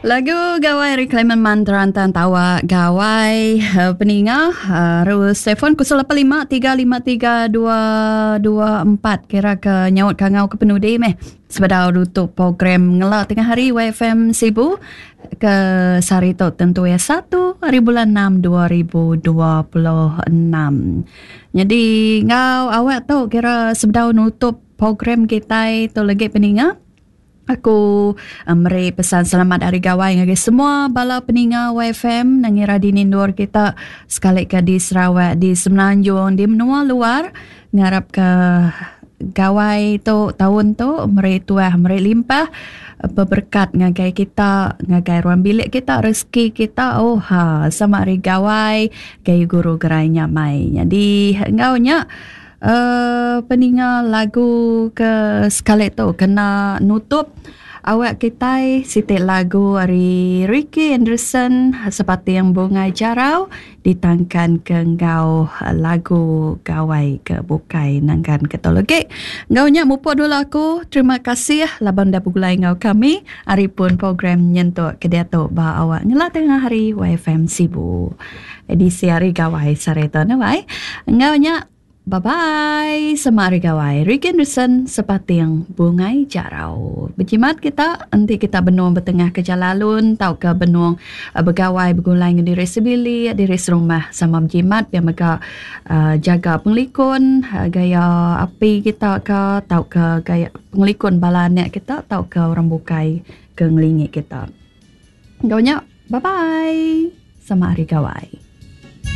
Lagu Gawai ari Clement Mantra Antang Tawa Gawai eh, peninga arus telefon 085 353 224 kira ke nyaut kangau ke penudi meh sebedau nutup program ngela tengah hari YFM Sibu ke sehari tu tentu ya 1 hari bulan 6 2026. Jadi ngau awak tu kira sebedau nutup program kitai tu lagi peninga Aku meri pesan selamat Hari Gawai ngagai semua bala peninga YFM nengira dini endur kita sekali ke di Sarawak, di Semenanjung, di menua luar ngarap ke Gawai tu taun tu meri tuah meri limpah beberkat ngagai kita ngagai ruang bilik kita rezeki kita oh ha sama hari Gawai gayu guru gerai nyamai. Nyadi enggau nya Peninga lagu ke sekali tu kena nutup awak kitai siti lagu ari Ricky Anderson Sepating Bungai Jarau ditangkan ke enggau lagu Gawai ke bukai nangkan ke tu legi. Enggau nya mupuk dulu aku terima kasih laban udah begulai enggau kami ari pun program nyentuk ke diatu ba awak ngela tengah hari YFM Sibu. Edisi Hari Gawai sehari tu ne wai. Enggau nya bye bye sema Hari Gawai. Ricky Anderson sepating Bungai Jarau. Bejimat kita enti kita benung betengah ke jalai alun tauka benung begawai begulai enggau diri sebilik, diri serumah sama bejimat pia mega uhh jaga pengelikun gaya api kita ka tauka gaya pengelikun bala anak kita tauka orang bukai ke ngelingi kita. Enggau nya, bye bye. Sama Hari Gawai.